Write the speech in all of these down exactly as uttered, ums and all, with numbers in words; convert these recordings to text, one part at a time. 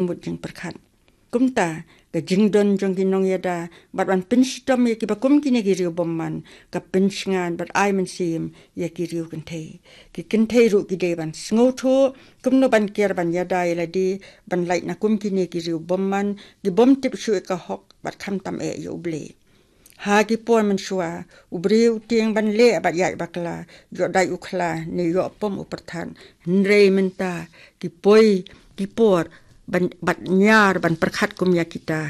jingmut jingpyrkhat. Kumta, ka jingdon jong ki nongïada bad ban pynshitom ïa kiba kum kine ki riew bymman, ka pynshngaiñ bad ai mynsiem ïa ki riew kynthei. Ki kynthei ruh ki dei ban sngewthuh kumno ban kiar ban ïada ïa lade, ban lait na kum kine ki riew bymman, ki bym tip shuh ïa ka hok bad khamtam eh ïa U Blei. Ha ki por mynshuwa, u briew u tieng ban leh bad ïaid bakla, ïoh dait u khla ne ïoh pom u pyrthat. Hynrei mynta, ki poi, ki por ban, bad ñiar ban pyrkhat kum ïa kita,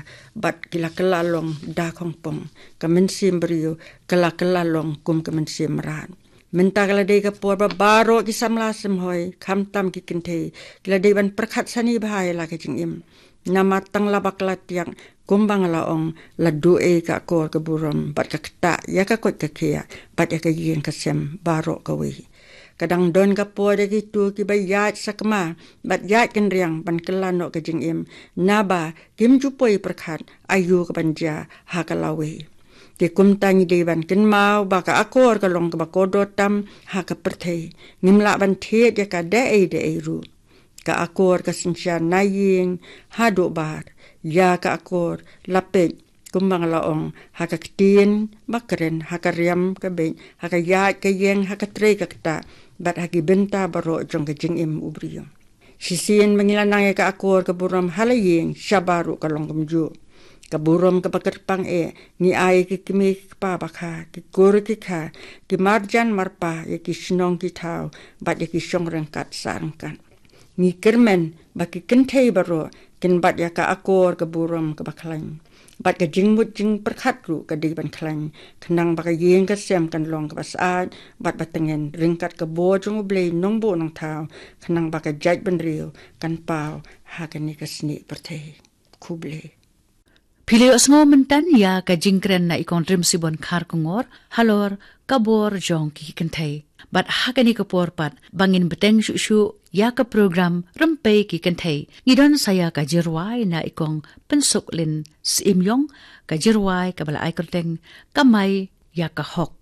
bad ki la kylla long da khongpong. Ka mynsiem briew ka la kylla long kum ka mynsiem mrad. Mynta ka la dei ka por ba baroh ki samla samhoi, khamtam ki kynthei, ki la dei ban pyrkhat sani bha ïa la ka jingim. Namar tang la bakla tiak, kumba nga la ong, la duh ei ka akor ka burom, bad ka ktah ïa ka koit ka khiah, bad ïa ka ïing ka sem baroh kawei. Ka dang don ka por ïa kito kiba ïaid sakma bad ïaid kynriang ban kylla noh ka jingim, naba kim ju poi pyrkhat aïu kaban jia ha ka lawei. Te kumta ngi dei ban kynmaw ba ka akor ka long kaba kordor tam ha ka pyrthei. Ngim lah ban thied ïa ka da ei da ei ruh. Ka akor ka synshar na ïing haduh bar. Ïa ka akor la peit, kumba nga la ong, ha ka ktien ba kren, ha ka riam ka beit, ha ka ïaid ka ïeng, ha ka trei ka ktah, bad ha ki bynta baroh jong ka jingim u briew. Shisien ba ngi la nang ïa ka akor ka burom ha la ïing, shabar ruh ka long kumjuh. Ka burom kaba kyrpang eh, ngi ai ki kmie ki kpa bakha, ki kur ki kha, ki marjan marpa, ïa ki shnong ki thaw, bad ïa ki shong ryngkat sah ryngkat. Ngi kyrmen ba ki kynthei baroh kin bat ïa ka akor ka burom kaba khlaiñ. Bad ka jingmut jingpyrkhat ruh ka dei ban khlaiñ, khnang ba ka ïing ka sem kan long kaba syaid bad ba tngen ryngkat ka bor jong U Blei Nongbuh Nongthaw, khnang ba ka jaitbynriew kan paw ha kane ka snieh pyrthei. Khublei. Phi la ïohsngew mynta ïa ka jingkren na i Kong Drimsibon Kharkongor halor ka bor jong ki kynthei. Bad ha kane ka por pat ba ngin bteng shuh shuh ïa ka program Rympei ki Kynthei, ngi don sa ïa ka jingrwai na i Kong Pynsuklin Syiemiong, ka jingrwai kaba la ai kyrteng Kamai ïa ka Hok.